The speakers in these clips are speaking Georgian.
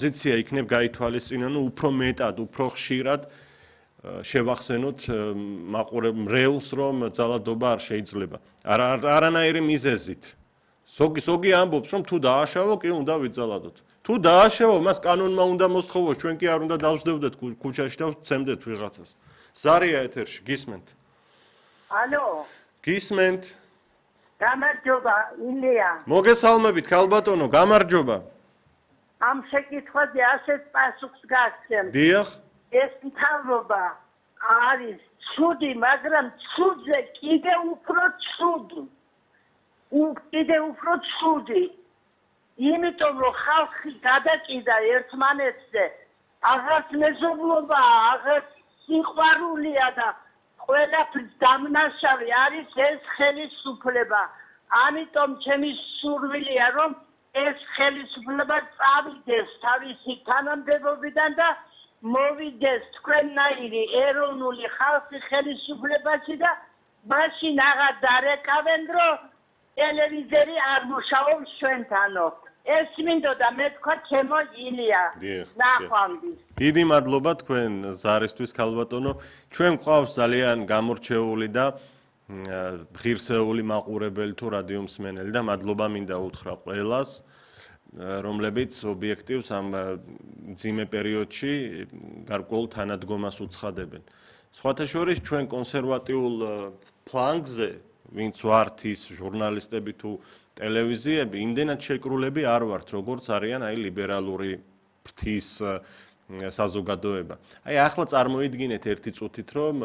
პოზიცია იქნებ გაითვალისწინონ, უფრო მეტად, უფრო ხშირად შევახსენოთ მრევლს, რომ ძალადობა არ შეიძლება. არანაირი მიზეზით. ზოგი ამბობს, რომ თუ დააშავო, კი უნდა ვიძალადოთ. თუ დააშავო, მას კანონმა უნდა მოსთხოვოს, ჩვენ კი არ უნდა დავსდევდეთ ქუჩაში და ვცემდეთ ვიღაცას. ზარია ეთერში, გისმენთ? ალო. გისმენთ? გამარჯობა, ილია. მოგესალმებით, ქალბატონო, გამარჯობა. ამ შეკითხვაზე ასეთ პასუხს გასცემ. დიახ. ეს მთავრობა არის ცუდი, მაგრამ ცუდზე კიდე უფრო ცუდი. კიდე უფრო ცუდი. იმიტომ რომ ხალხი გადაჭიდა ერთმანეთზე, აღარ მეზობლობა, აღარ სიყვარულია და ყველაფრის დამნაშავე არის ეს ხელისუფლება. ამიტომ ჩემი სურვილია რომ ეს ხელისუფლება წავიდეს თავისი თანამდებობიდან და მოვიდეს თქვენნაირი ეროვნული ხალხი ხელისუფლებაში და მაშინ აღარ დარეკავენ რომ ტელევიზორი არ მუშაობს ჩვენთანო. ეს მინდოდა მე თქვა ჩემო ილია. ნახვამდის. დიდი მადლობა თქვენ ზარისთვის ქალბატონო. ჩვენ გვყავს ძალიან გამორჩეული და ღირსეული მაყურებელი თუ რადიო მსმენელი და მადლობა მინდა უთხრა ყველას, რომლებიც ობიექტივს ამ მძიმე პერიოდში გარკვეულ თანადგომას უცხადებენ. სხვათა შორის ჩვენ კონსერვატიულ ფლანგზე, ვინც ვართ ის ჟურნალისტები თუ ტელევიზიები, იმდენად შეკრულები არ ვართ, როგორც არიან აი ლიბერალური ფრთის საზოგადოება. აი ახლა წარმოიდგინეთ ერთი წუთით, რომ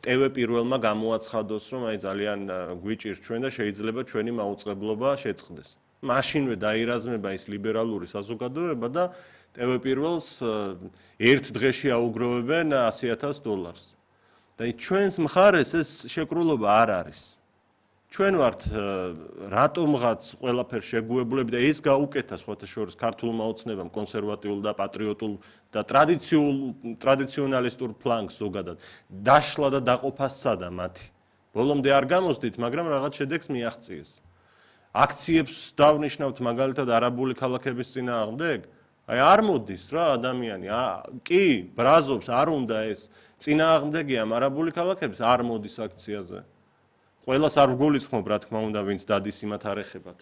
TV პირველმა გამოაცხადოს, რომ აი ძალიან გვიჭირს ჩვენ და შეიძლება ჩვენი მაუწყებლობა შეწყდეს. მაშინვე დაირაზმება ის ლიბერალური საზოგადოება და TV პირველს ერთ დღეში აუგროვებენ $100,000. და ჩვენს მხარეს ეს შეკრულობა არ არის. ჩვენ ვართ რატომღაც ყველაფერს შეგუებლები და ეს გაუკეთა სხვათა შორის ქართულმა ოცნებამ კონსერვატიულ და პატრიოტულ და ტრადიციონალისტურ ფლანგს ზოგადად დაშლა და დაყოფა სცადა მათი. ბოლომდე არ გამოსდით, მაგრამ რაღაც შედეგს მიაღწიეს. აქციებს დავნიშნავთ მაგალითად არაბული ქალაქების წინააღმდეგ? აი არ მოდის რა ადამიანი, კი, ბრაზობს, არ უნდა ეს წინააღმდეგია არაბული ქალაქების, არ მოდის აქციაზე. ყველას არ ვგულისხმობ, რა თქმა უნდა, ვინც დადის იმათ არ ეხებათ.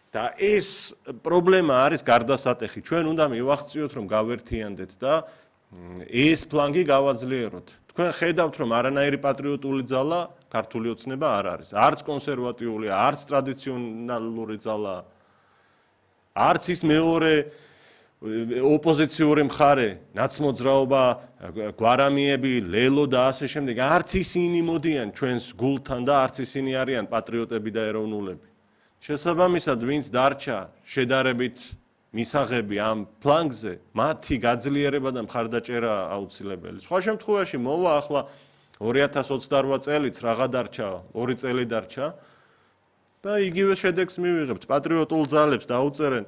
და ეს პრობლემა არის გარდასატეხი. ჩვენ უნდა მივახციოთ, რომ გავერთიანდეთ და ეს ფლანგი გავაძლიეროთ. თქვენ ხედავთ, რომ არანაირი პატრიოტული ძალა ქართული ოცნება არ არის. არც კონსერვატიული, არც ტრადიციონალური ძალა, არც ის მეორე ოპოზიციური მხარე, ნაცმოძრაობა, გვარამიები, ლელო და ასე შემდეგ, არც ისინი მოდიან ჩვენს გულთან და არც ისინი არიან პატრიოტები და ეროვნულები. შესაბამისად, ვინც დარჩა შედარებით მისაღები ამ ფლანგზე, მათი გაძლიერება და მხარდაჭერა აუცილებელი. სხვა შემთხვევაში მოვა ახლა 2028 წელიც რაღა დარჩა, 2 წელი დარჩა და იგივე შედეგს მივიღებთ. პატრიოტულ ძალებს დაუწერენ